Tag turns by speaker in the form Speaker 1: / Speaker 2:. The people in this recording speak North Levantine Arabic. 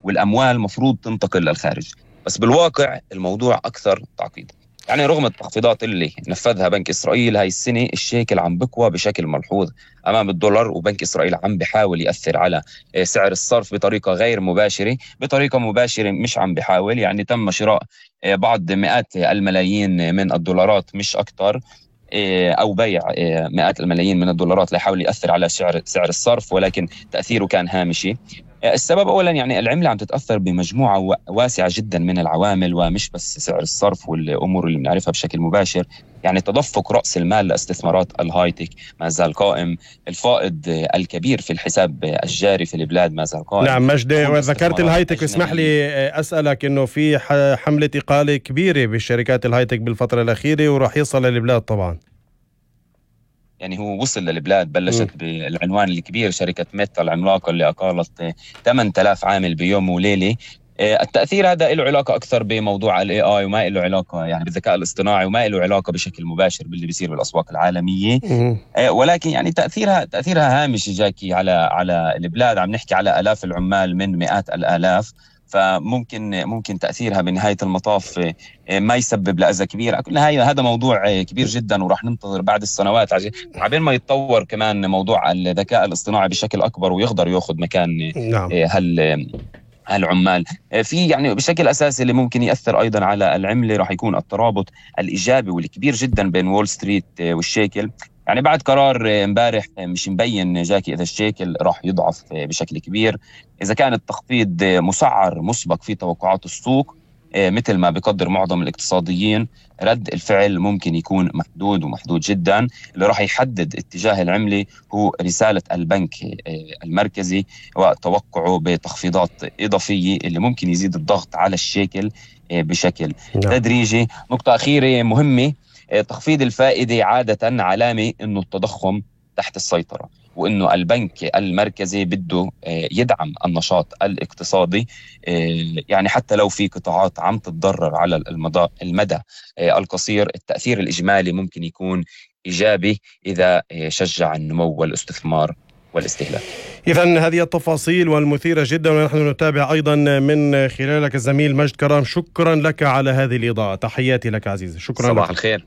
Speaker 1: والأموال مفروض تنتقل للخارج. بس بالواقع الموضوع أكثر تعقيد. يعني رغم التخفيضات اللي نفذها بنك إسرائيل هاي السنة، الشيكل عم بقوى بشكل ملحوظ أمام الدولار، وبنك إسرائيل عم بحاول يأثر على سعر الصرف بطريقة غير مباشرة. بطريقة مباشرة مش عم بحاول، يعني تم شراء بعض مئات الملايين من الدولارات مش أكتر، أو بيع مئات الملايين من الدولارات ليحاول يأثر على سعر الصرف، ولكن تأثيره كان هامشي. السبب أولا يعني العملة عم تتأثر بمجموعة واسعة جدا من العوامل، ومش بس سعر الصرف والأمور اللي بنعرفها بشكل مباشر. يعني تدفق رأس المال لاستثمارات الهايتك ما زال قائم، الفائض الكبير في الحساب الجاري في البلاد ما زال قائم.
Speaker 2: نعم مجدي، وذكرت الهايتك، اسمح لي أسألك إنه في حملة إقالة كبيرة بالشركات الهايتك بالفترة الأخيرة، وراح يصل للبلاد طبعا.
Speaker 1: يعني هو وصل للبلاد، بلشت بالعنوان الكبير شركة ميتا العملاقة اللي أقالت 8000 عامل بيوم وليلة. التأثير هذا له علاقة أكثر بموضوع ال AI، وما له علاقة يعني بالذكاء الاصطناعي، وما له علاقة بشكل مباشر باللي بيصير بالأسواق العالمية. ولكن يعني تأثيرها هامش جاكي على البلاد. عم نحكي على آلاف العمال من مئات الآلاف، فممكن تأثيرها بنهاية المطاف ما يسبب لأذى كبير. هذا موضوع كبير جدا، وراح ننتظر بعد السنوات عبين ما يتطور كمان موضوع الذكاء الاصطناعي بشكل أكبر ويقدر يأخذ مكان هالعمال. في يعني بشكل أساسي اللي ممكن يأثر أيضا على العملة راح يكون الترابط الإيجابي والكبير جدا بين وول ستريت والشيكل. يعني بعد قرار امبارح مش مبين جاكي إذا الشيكل راح يضعف بشكل كبير. إذا كان التخفيض مسعر مسبق في توقعات السوق مثل ما بيقدر معظم الاقتصاديين، رد الفعل ممكن يكون محدود جدا. اللي راح يحدد اتجاه العملة هو رسالة البنك المركزي وتوقعه بتخفيضات إضافية اللي ممكن يزيد الضغط على الشيكل بشكل تدريجي. نقطة أخيرة مهمة، تخفيض الفائدة عادة علامة إنه التضخم تحت السيطرة، وإنه البنك المركزي بده يدعم النشاط الاقتصادي. يعني حتى لو في قطاعات عم تتضرر على المدى القصير، التأثير الإجمالي ممكن يكون إيجابي إذا شجع النمو والاستثمار والاستهلاك.
Speaker 2: إذن هذه التفاصيل والمثيرة جدا، ونحن نتابع أيضا من خلالك الزميل مجد كرام. شكرا لك على هذه الإضاءة، تحياتي لك عزيزي. شكرا.
Speaker 1: صباح الخير.